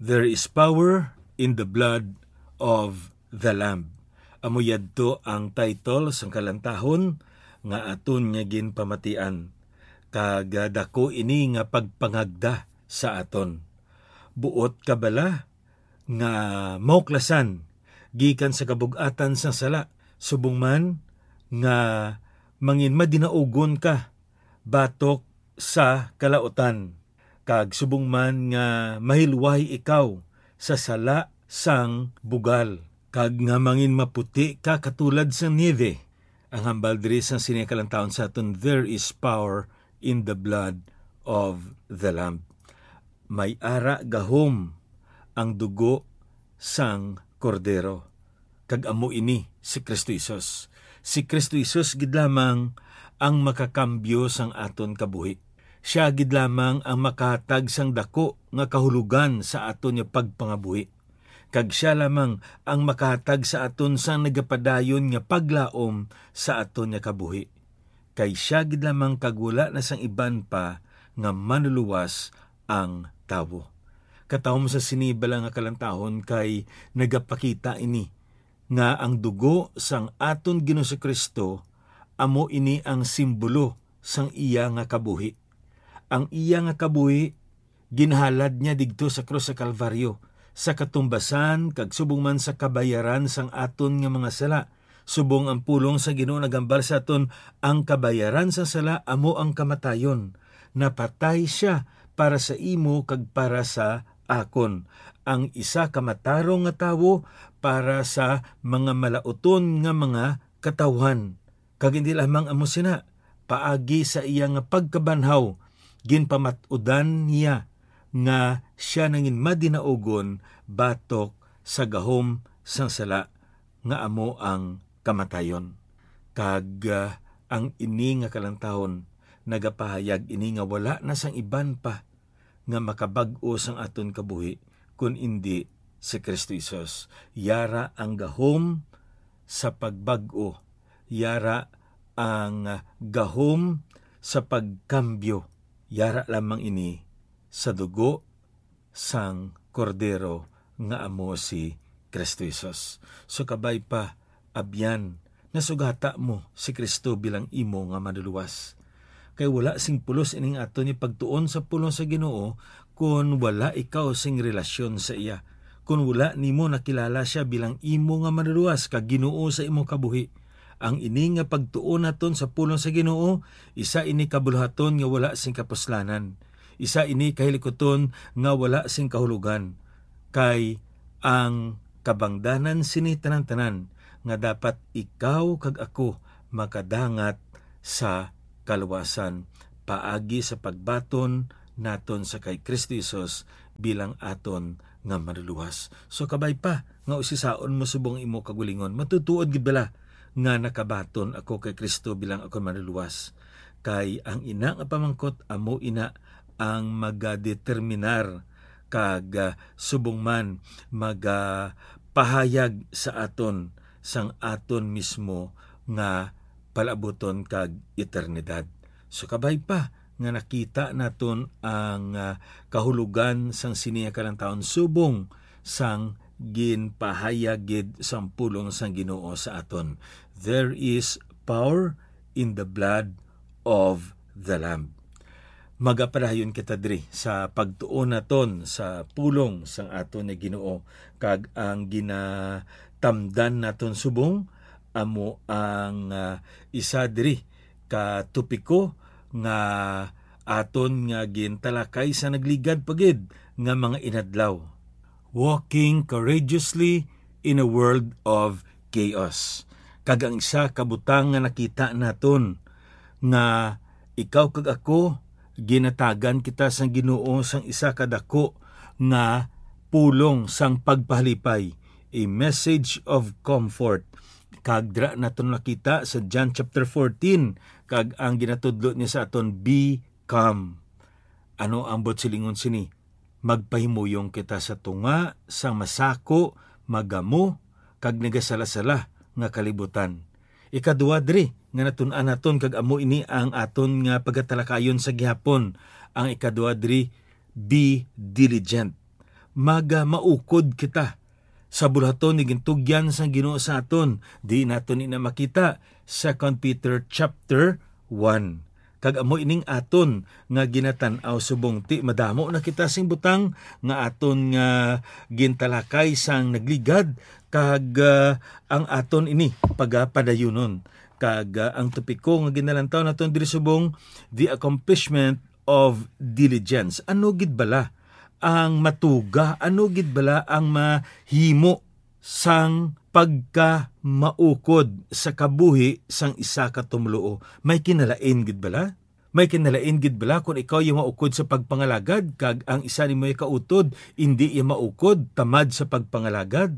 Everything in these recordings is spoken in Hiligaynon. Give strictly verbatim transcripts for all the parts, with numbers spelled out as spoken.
There is power in the blood of the Lamb. Amo yadto ang title sang kalantahon nga aton nga ginpamatian, kag, ah, daku ini nga pagpangagda sa aton. Buot ka bala nga mahuklasan gikan sa kabug-atan sang sala, subong man nga manginmadinaugon ka batok sa kalautan, kag subong man nga mahilway ikaw sa sala sang bugal, kag nga manginmaputi ka katulad sang niebe. Ang hambal diri sang sini nga kalantahon sa aton, there is power in the blood of the Lamb. May ara gahom ang dugo sang Kordero, kag amo ini si Cristo Jesus. Si Cristo Jesus gid lamang ang makakambyo sang aton kabuhi. Sia gid lamang ang makahatag sang daku nga kahulogan sa aton nga pagpangabuhi, kag sia lamang ang makahatag sa aton sang nagapadayon nga paglaom sa aton nga kabuhi. Kay sia gid lamang kag wala na sang iban pa nga manluluwas ang tawo. Katahom sa sini bala nga kalantahon, kay nagapakita ini nga ang dugo sang aton Ginoong Cristo amo ini ang simbolo sang iya nga kabuhi. Ang iya nga kabuhi ginhalad niya digto sa krus sa Kalbaryo, sa katumbasan kag subong man sa kabayaran sang aton nga mga sala. Subong ang pulong sa Ginoo nagambal sa aton, ang kabayaran sa sala amo ang kamatayon. Napatay sia para sa imo kag para sa akon, ang isa ka matarong nga tawo para sa mga malauton nga mga katawhan. Kag hindi lamang amo sina, paagi sa iya nga pagkabanhaw, ginpamat-udan niya nga sia nanginmadinaugon batok sa gahom sang sala nga amo ang kamatayon. Kag, ah, ang ini nga kalantahon nagapahayag ini nga wala na sang iban pa nga makabag-o sang aton kabuhi, kun indi si Cristo Jesus. Yara ang gahom sa pagbag-o, yara ang gahom sa pagkambyo, yara lamang ini sa dugo sang Kordero nga amo si Cristo Jesus. So kabay pa, abyan, nasugata mo si Cristo bilang imo nga Manluluwas. Kay wala sing pulos ining aton nga pagtuon sa pulong sa Ginoo kon wala ikaw sing relasyon sa iya, kon wala nimo nakilala sia bilang imo nga Manluluwas kag Ginoo sa imong kabuhi. Ang ini nga pagtuon naton sa pulong sa Ginoo, isa ini ka buluhaton nga wala sing kapuslanan. Isa ini ka hilikuton nga wala sing kahulogan, kay ang kabangdanan sini tanan-tanan nga dapat ikaw kag ako makadangat sa kaluwasan paagi sa pagbaton naton sa kay Cristo Jesus bilang aton nga Manluluwas. So, kabay pa nga usisaon mo subong imo kaugalingon, matutuod gid bala nga nakabaton ako kay Cristo bilang akon Manluluwas? Kay ang ina nga pamangkot amo ina ang magadeterminar kag, ah, subong man magapahayag sa aton sang aton mismo nga palaabuton kag eternidad. So, kabay pa nga nakita naton ang, ah, kahulogan sang sini nga kalantahon subong sang ginpahayag gid sang pulong sang Ginoo sa aton. There is power in the blood of the Lamb. Magapadayon kita diri sa pagtuon naton sa pulong sang aton nga Ginoo, kag ang ginatamdan naton subong amo ang, ah, isa diri ka topiko nga aton nga gintalakay sa nagligad pa gid nga mga inadlaw. Walking courageously in a world of chaos. Kag ang isa ka butang nga nakita naton nga ikaw kag ako, ginatagan kita sang Ginoo sang isa ka dako nga pulong sang pagpahalipay, a message of comfort. Kag dira naton nakita sa John chapter fourteen, kag ang ginatudlo niya sa aton, "Be calm." Ano ang buot silingon sini? Magpahimuyong kita sa tunga sang masako, magamo, kag nagasala-sala nga kalibutan. Ikadua diri nga natun-an naton, kag amo ini ang aton nga pagatalakayon sa gihapon. Ang ikadua diri, be diligent. maga maukod kita sa buluhaton nga gintugyan sang Ginoo sa aton. Di naton ina makita, Second Peter chapter one. Kag amo ining aton nga ginatan-aw subong ti madamo na kita sing butang nga aton nga gintalakay sang nagligad, kag, ah, ang aton ini pagapadayunon. Kag, ah, ang topiko nga ginalantaw naton diri subong, the accomplishment of diligence. Ano gid bala ang matuga? Ano gid bala ang mahimo sang pagkamaukod sa kabuhi sang isa ka tumoluo? May kinalain gid bala? May kinalain gid bala kon ikaw iya maukod sa pagpangalagad, kag ang isa nimo iya kautod indi iya maukod tamad sa pagpangalagad?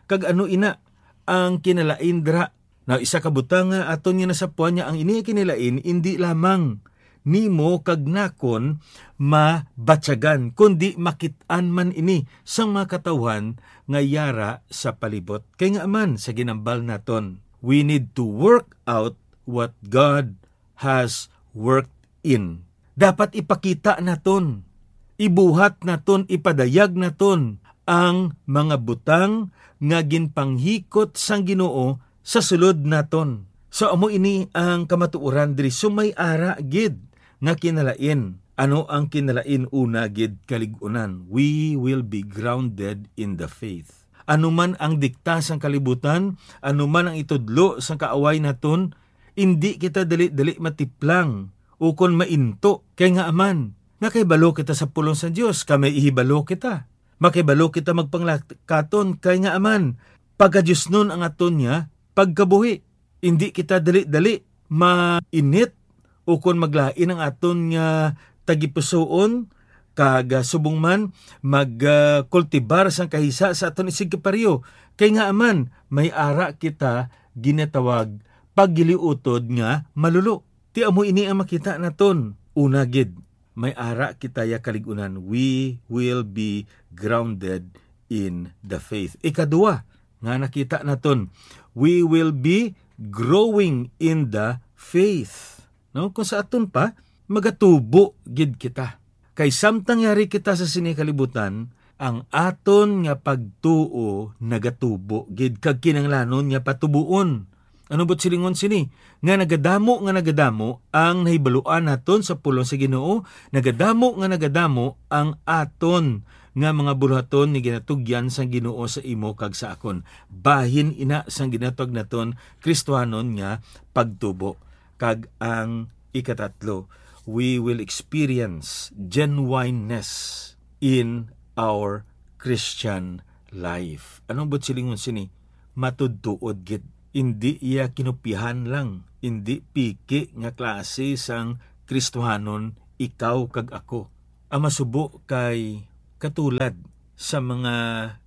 Kag ano ina ang kinalain dira? Now, isa ka butang nga aton nga nasapuan nga ang ini nga kinalain indi lamang nimo kag nakon mabatyagan, kundi makit-an man ini sang mga katawuhan nga yara sa palibot. Kay ngaa man, sa ginambal naton, we need to work out what God has worked in. Dapat ipakita naton, ibuhat naton, ipadayag naton ang mga butang nga ginpanghikot sang Ginoo sa sulod naton. So, amo ini ang kamatuoran diri. So, may ara gid nga kinalain. Ano ang kinalain? Una gid, kalig-unan, we will be grounded in the faith. Ano man ang dikta sang kalibutan, ano man ang itudlo sang kaaway naton, indi kita dali-dali matiplang ukon mainto. Kay ngaa man, nakahibalo kita sa pulong sa Dios, kag may ihibalo kita. Makahibalo kita magpanglakaton, kay ngaa man, pagadiosnon ang aton nga pagkabuhi. Indi kita dali-dali mainit ukon maglain ang aton nga tagipusoon, kag, ah, subong man mag, ah, kultibar sang kahisa sa aton isigkapareho. Kay ngaa man, may ara kita ginatawag paggiliutod nga malulo. Ti amo ini ang makita naton. Una gid, may ara kita ya kalig-unan. We will be grounded in the faith. Ikaduha nga nakita naton, we will be growing in the faith. No? Kung sa aton pa, magatubo gid kita. Kay samtang yari kita sa sini kalibutan, ang aton nga pagtuo nagatubo gid kag kinahanglanon nga patubuon. Ano buot silingon sini? Nga nagadamo, nga nagadamo ang nahibaluan naton sa pulong sa Ginoo, nagadamo nga nagadamo ang aton nga mga buluhaton nga ginatugyan sang Ginoo sa imo kag sa akon. Bahin ina sang ginatawag naton Kristiyanon nga pagtubo. Kag ang ikatatlo, we will experience genuineness in our Christian life. Anong buot silingon sini? Matudtuod gid. Indi iya kinopyahan lang, indi piki nga klase sang Kristohanon ikaw kag ako. Ang masubo kay katulad sa mga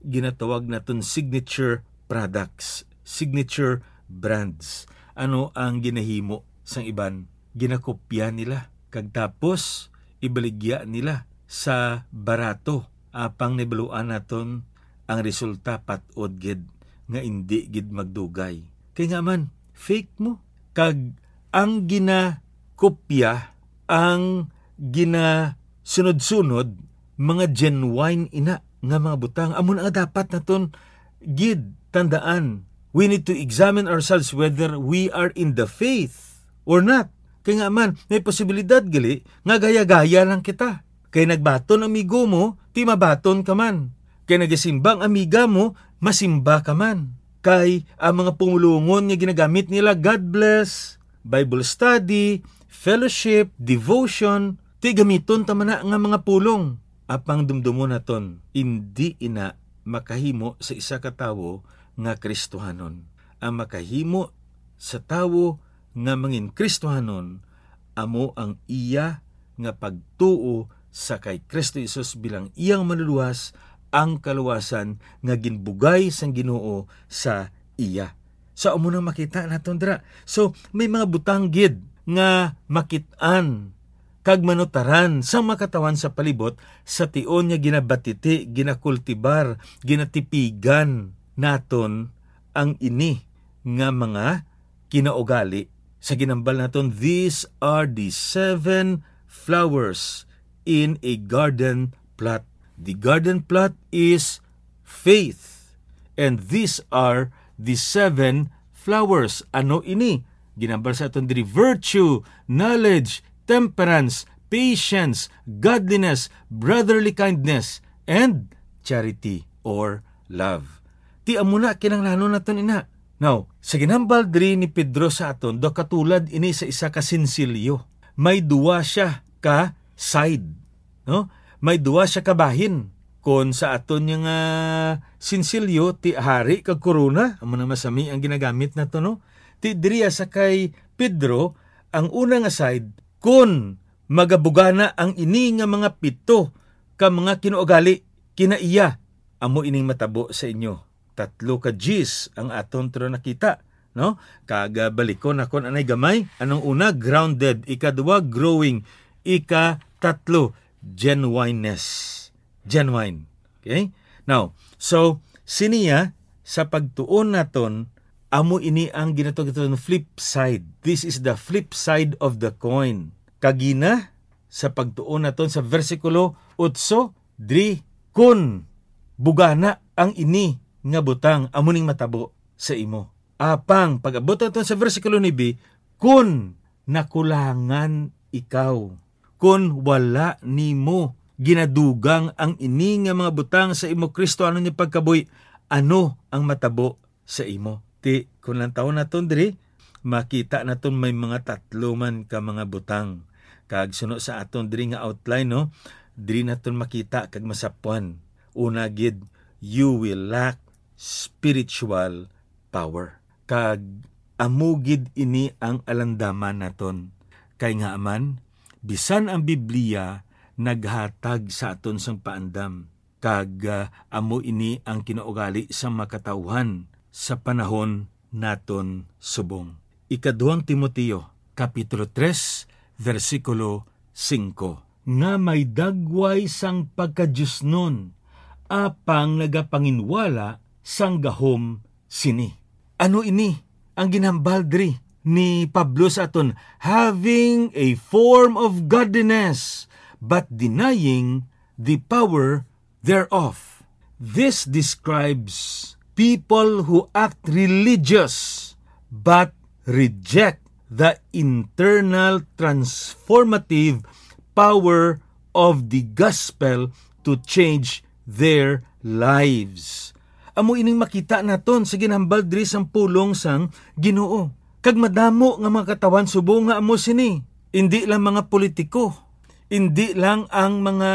ginatawag naton signature products, signature brands. Ano ang ginahimo sang iban? Ginakopya nila, kag tapos ibaligya nila sa barato, apang nahibaluan naton ang resulta pat-od gid nga indi gid magdugay. Kay ngaa man, fake mo. Kag ang ginakopya, ang ginasunod-sunod, mga genuine ina nga mga butang. Amo na nga dapat naton gid tandaan. We need to examine ourselves whether we are in the faith or not. Kay ngaa man, may posibilidad gali nga gaya-gaya lang kita. Kay nagbaton amigo mo, ti mabaton ka man. Kay nagasimba ang amiga mo, masimba ka man. Kay ang mga pumulongon nga ginagamit nila, God bless, Bible study, fellowship, devotion, ti gamiton ta man na nga mga pulong. Apang dumdumon naton, indi ina makahimo sa isa ka tawo nga Kristohanon. Ang makahimo sa tawo nga mangin Kristohanon amo ang iya nga pagtuo sa kay Kristo Jesus bilang iyang Manlulowas, ang kaluwasan nga ginbugay sang Ginoo sa iya. So, amo nang makita naton dira. So, may mga butang gid nga makit-an kag manutaran sang mga katawuhan sa palibot sa tion nga ginabatiti, ginakultibar, ginatipigan naton ang ini nga mga kinaugali. Sa ginambal naton, these are the seven flowers in a garden plot. The garden plot is faith. And these are the seven flowers. Ano ini? Ginambal sa aton diri: virtue, knowledge, temperance, patience, godliness, brotherly kindness, and charity or love. Ti amo na kinahanglanon naton ina. Now, sa ginambal diri ni Pedro sa aton, daw katulad ini sa isa ka sinsilyo. May duwa siya ka side, no? May duwa siya ka bahin. Kon sa aton nga sinsilyo, ti hari kag korona, amo na masami ang ginagamit nato, no? Ti diriya sa kay Pedro, ang una nga side, kon magabugana ang ini nga mga pito ka mga kinuugali kinaiya, amo ining matabo sa inyo. Tatlo ka G's ang aton tro nakita, no? Kag, ah, balikon nakon anay gamay. Anong una? Grounded. Ikadua, growing. Ikatatlo, genuineness. Genuine. Okay? Now, so, siniya, sa pagtuon naton, amo ini ang ginatawag naton flip side. This is the flip side of the coin. Kagina, sa pagtuon naton sa bersikulo otso, diri, kun bugana ang ini nga butang, amo ning matabo sa imo. Apang, pag-abot naton sa bersikulo nuebe, kun nakulangan ikaw, kun wala nimo ginadugang ang ini nga mga butang sa imo Kristohanon nga pagkabuhi, ano ang matabo sa imo? Ti, kun lantawon naton diri, makita naton may mga tatlo man ka mga butang. Kag suno sa aton diri nga outline, no, diri naton makita kag masapwan. Una gid, you will lack spiritual power. Kag amo gid ini ang alandaman naton. Kay ngaa man, bisan ang Biblia naghatag sa aton sang paandam, kag, ah, amo ini ang kinaugali sang makatawhan sa panahon naton subong. Ikaduhang Timoteo, Kapitulo tres, bersikulo singko, nga may dagway sang pagkadiosnon, apang nagapanginwala sang gahom sini. Ano ini ang ginhambal diri ni Pablo sa aton? "Having a form of godliness, but denying the power thereof." This describes people who act religious but reject the internal transformative power of the gospel to change their lives. Amo ining makita naton sa ginhambal diri sang pulong sang Ginoo. Kag madamo nga mga katawhan subong nga amo sini. Indi lang mga politiko, indi lang ang mga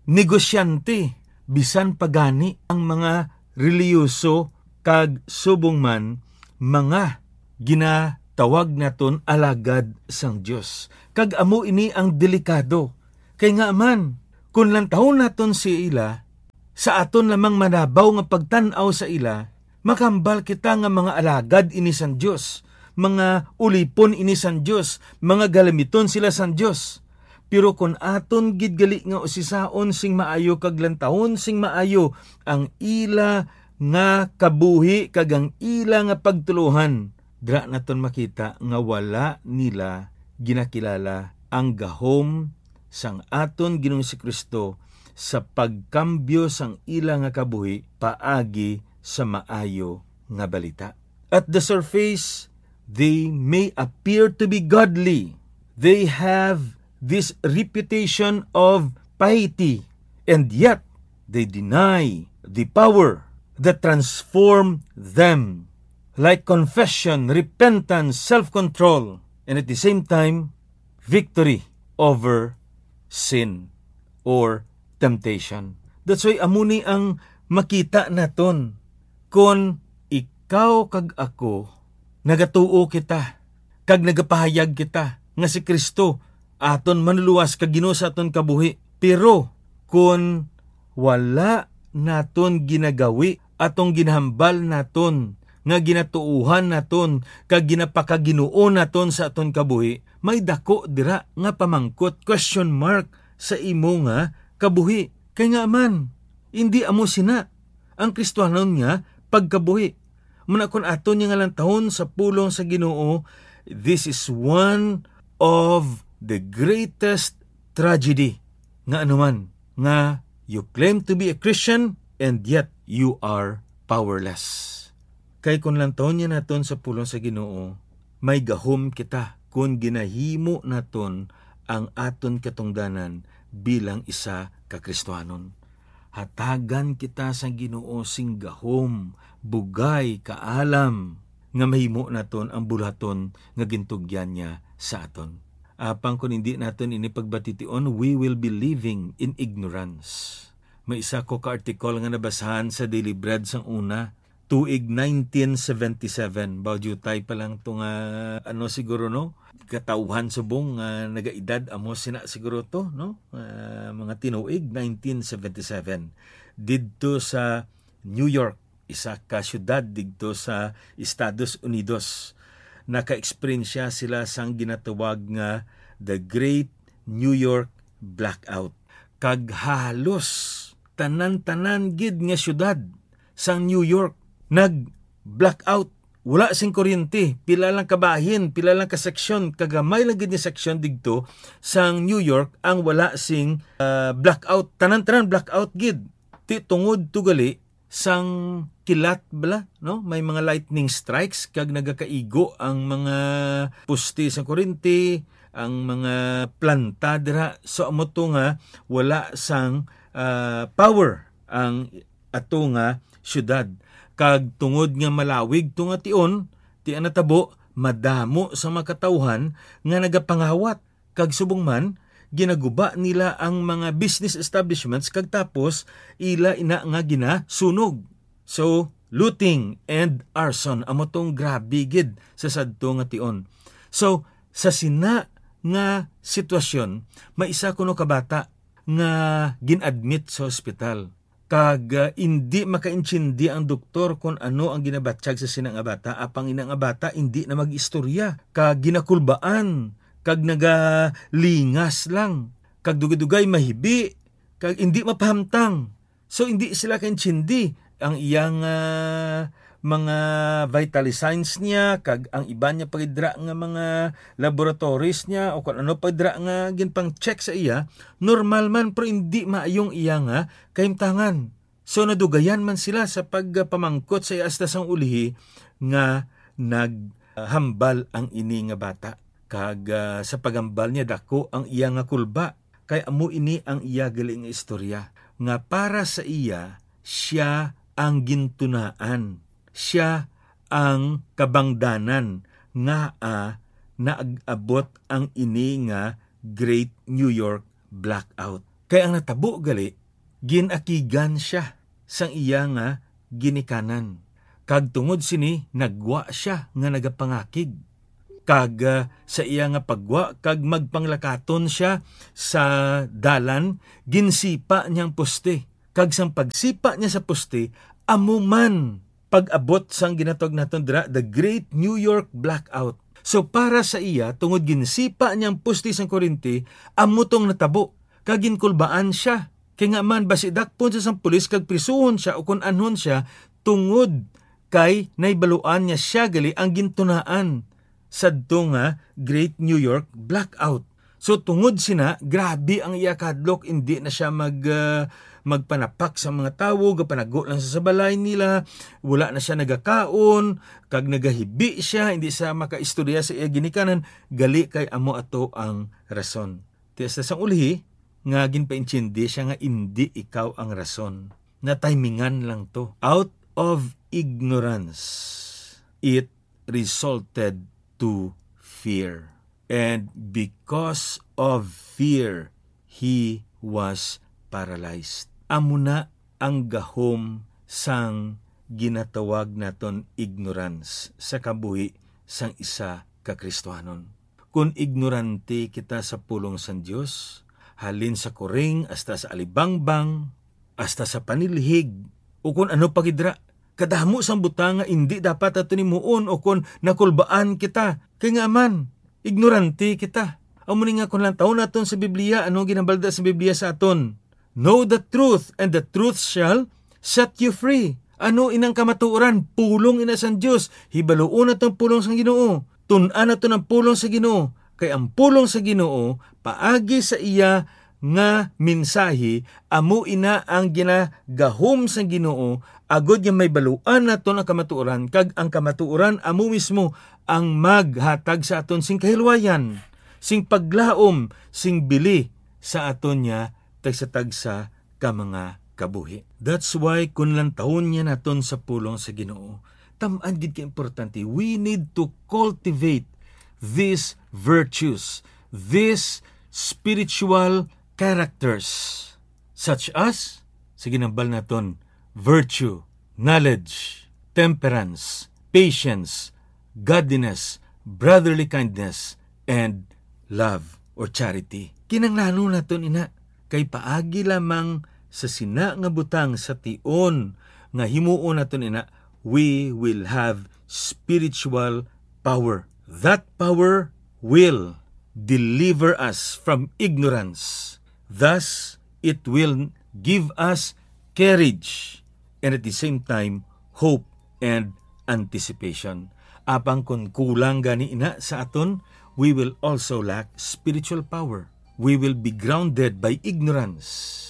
negosyante, bisan pa gani ang mga relihiyoso kag subong man mga ginatawag naton alagad sang Dios. Kag amo ini ang delikado. Kay ngaa man, kun lantawon naton sila, sa aton lamang manabaw nga pagtan-aw sa ila, makahambal kita nga mga alagad ini sang Dios, mga ulipon ini sang Dios, mga galamiton sila sang Dios. Pero kon aton gid gali nga usisaon sing maayo kag lantawon sing maayo ang ila nga kabuhi kag ang ila nga pagtuluohan, dira naton makita nga wala nila ginakilala ang gahom sang aton Ginoong Jesu-Cristo sa pagkambyo sang ila nga kabuhi paagi sa maayo nga balita. At the surface, they may appear to be godly. They have this reputation of piety, and yet they deny the power that transformed them, like confession, repentance, self-control, and at the same time, victory over sin or temptation. That's why amo ni ang makita naton. Kon ikaw kag ako, nagatuo kita, kag nagapahayag kita nga si Cristo aton Manlulowas kag Ginoo sa aton kabuhi. Pero kon wala naton ginagawi atong ginahambal naton nga ginatuohan naton kag ginapakaginoo naton sa aton kabuhi, may dako dira nga pamangkot, question mark, sa imo nga kabuhi. Kay ngaa man, indi amo sina ang Kristohanon nga pagkabuhi. Muna kon aton nga lantawon sa pulong sa Ginoo, this is one of the greatest tragedy nga anuman nga You claim to be a Christian, and yet you are powerless. Kay kung lantawon niya naton sa pulong sa Ginoo, may gahom kita kon ginahimo naton ang aton katungdanan bilang isa ka Kristiyanon. Hatagan kita sang Ginoo sing gahom, bugay, kaalam nga mahimo naton ang buluhaton nga gintugyan niya sa aton. Apang kon indi naton ini pagbatition, we will be living in ignorance. May isa ko ka article nga nabasahan sa Daily Bread sang una, tuig nineteen seventy-seven. Baw diutay pa lang to nga, ano, siguro, no? Katawhan subong nga nagaedad, amo sina siguro to, no? Ah, mga tinuig, nineteen seventy-seven. Didto sa New York, isa ka syudad didto sa Estados Unidos, naka-eksperyensya sila sang ginatawag nga the Great New York Blackout. Kag halos tanan-tanan gid nga syudad sang New York nag-blackout. Wala sing kuryente, pila lang ka bahin, pila lang ka seksyon, kagamay lang gid ni seksyon digto sang New York ang wala sing, ah, blackout. Tanan-tanan blackout gid. Ti tungod to gali sang kilat bala, no? May mga lightning strikes kag nagakaigo ang mga poste sa kuryente, ang mga planta dira. So, amo to nga wala sang, ah, power ang ato nga syudad. Kag tungod nga malawig to nga tion, ti ang natabo, madamo sa mga katawhan nga nagapangawat. Kag subong man, ginaguba nila ang mga business establishments kag tapos ila ina nga ginasunog. So, looting and arson, amo tong grabe gid sa sadto nga tion. So, sa sina nga sitwasyon, may isa kuno ka bata nga gin-admit sa ospital. Kag, ah, indi makaintindi ang doktor kon ano ang ginabatyag sa sina nga bata, apang ina nga bata indi na mag-istorya, kag ginakulbaan, kag nagalingas lang, kag dugay-dugay mahibi, kag indi mapahamtang. So, indi sila kaintindi. Ang iyang, ah, mga vitally signs niya, kag ang iban niya pa gid dira nga mga laboratories niya, o kung ano pa dira nga ginpang-check sa iya, normal man, pero indi maayong iya nga kahimtangan. So, nadugayan man sila sa pagpamangkot sa iya, hasta sang ulihi nga naghambal ang ini nga bata. Kag, ah, sa paghambal niya, dako ang iya nga kulba. Kay amo ini ang iya gali nga istorya, nga para sa iya, sia ang gintunaan, sia ang kabangdanan nga, ah, naag-abot ang ini nga Great New York Blackout. Kay ang natabo gali, gin-akigan sia sang iya nga ginikanan, kag tungod sini nagwa sia nga nagapangakig. Kag, ah, sa iya nga pagwa kag magpanglakaton sia sa dalan, ginsipa niya ang poste. Kag sang pagsipa niya sa poste, amo man pag-abot sang ginatawag naton dira, the Great New York Blackout. So, para sa iya, tungod ginsipa niya ang poste sang kuryente, amo tong natabo. Kag ginkulbaan sia. Kay nga man, basi dakpon sia sang pulis kag prisuhon sia o kun anhon sia, tungod kay nahibaluan nga sia gali ang gintunaan sadto nga Great New York Blackout. So, tungod sina, grabe ang iya kahadlok, indi na sia mag, ah, magpanapak sa mga tawo, gapanago lang sa, sa balay nila, wala na sia nagakaon, kag nagahibi sia, hindi siya makaistorya sa iya ginikanan, gali kay amo ato ang rason. Ti hasta sang ulihi nga ginpaintindi sia nga indi ikaw ang rason. Natimingan lang to. Out of ignorance, it resulted to fear. And because of fear, he was paralyzed. Amo na ang gahom sang ginatawag naton ignorance sa kabuhi sang isa ka Kristiyanon. Kon ignorante kita sa pulong sang Dios, halin sa kuring hasta sa alibangbang, hasta sa panilhig, o kon ano pa gid ra, kadamo sang butang nga indi dapat aton himuon o kon nakulbaan kita. Kay nga man, ignorante kita. Amo ni nga kon lantawon naton sa Biblia, ano ang ginabalda sa Biblia sa aton? "Know the truth, and the truth shall set you free." Ano inang kamatuoran? Pulong ina sang Dios. Hibaluon naton ang pulong sang Ginoo. Tun-an naton ang pulong sa Ginoo. Kay ang pulong sa Ginoo, paagi sa iya nga mensahe, amo ina ang ginagahom sang Ginoo, agod nga may baluan naton ang kamatuoran, kag ang kamatuoran amo mismo ang maghatag sa aton sing kahilwayan, sing paglaom, sing bili sa aton nga tagsa-tagsa ka mga kabuhi. That's why, kun lantawon niya naton sa pulong sa Ginoo, tam-an gid ka importante, we need to cultivate these virtues, these spiritual characters, such as, sige, nambal naton, virtue, knowledge, temperance, patience, godliness, brotherly kindness, and love or charity. Kinahanglanon naton ina, kay paagi lamang sa sina nga butang sa tion nga himuon naton ina, we will have spiritual power. That power will deliver us from ignorance. Thus, it will give us courage and at the same time, hope and anticipation. Apang kun kulang gani ina sa aton, we will also lack spiritual power. We will be grounded by ignorance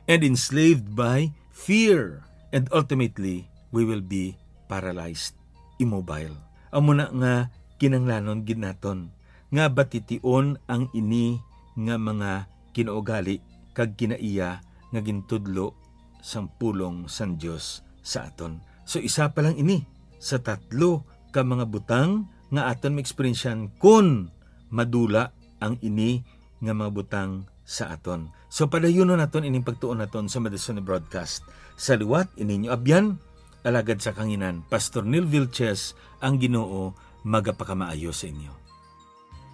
and enslaved by fear, and ultimately, we will be paralyzed, immobile. Amo na nga kinahanglanon gid naton nga batiin ang ini nga mga kinaugali kag kinaiya nga gintudlo sang pulong sang Dios sa aton. So, isa pa lang ini sa tatlo ka mga butang nga aton maeksperiensyahan kon madula ang ini nga mga butang sa aton. So, padayunon naton ining pagtuon naton sa madison nga broadcast. Sa liwat, ininyo abyan, alagad sa kanginan, Pastor Neil Vilches, ang Ginoo magapakamaayo sa inyo.